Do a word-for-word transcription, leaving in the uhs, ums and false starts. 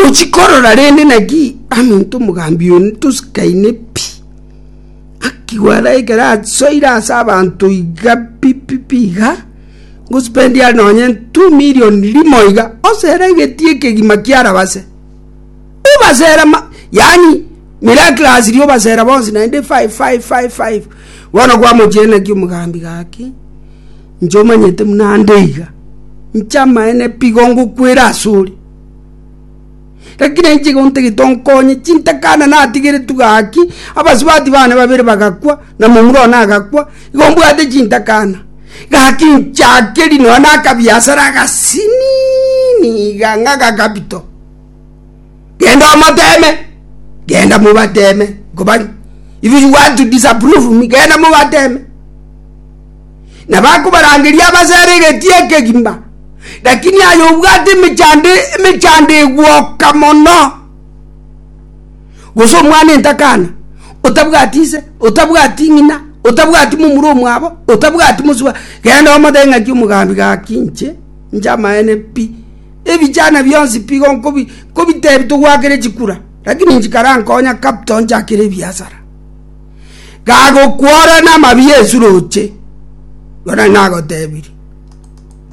Ochikorora rende naki aminto omogambi oyo tosikaine pi. Akigwara ekero asoire ase abanto iga pi pi pi iga, ngospendi are nonye two million rimo iga, osere egetii ekegima kiarabase. Obasera ma yaani miraculously obasera bonsi naende five five five five. Bono kwamochia naki omogambi gaki, inche omanyete buna ande iga, inche amaene pi igo ngokwera asore. Lakini inche igo ntagete onkonye, chintakana natigeretwe gaki, abasubati bane babere bagakwa, na momura one agakwa, igo mbwate chintakana. Gaki nchakeri nonya na akabiasara agasinini iga ng'a agakapito. Genda omoteme, genda mobateme, nkoba if you want to disapprove me, genda mobateme. Nabo akobarangeria abasere egetii ekegima, lakini aye obwate emechando emechando egwoka mono. Gose omwana entakana, otabwati ise, otabwati ng'ina, otabwati momura omwabo, otabwati mosubati, genda omotebie ng'aki omogambi gaki inche, inche amaene pi, ebichana bionsi pi igo nkobi nkobitebi togoakera chikura, lakini inche karankonya capital nchakere ebiasara. Gagokwora namabi Yesu roche, igo nari nagotebirie.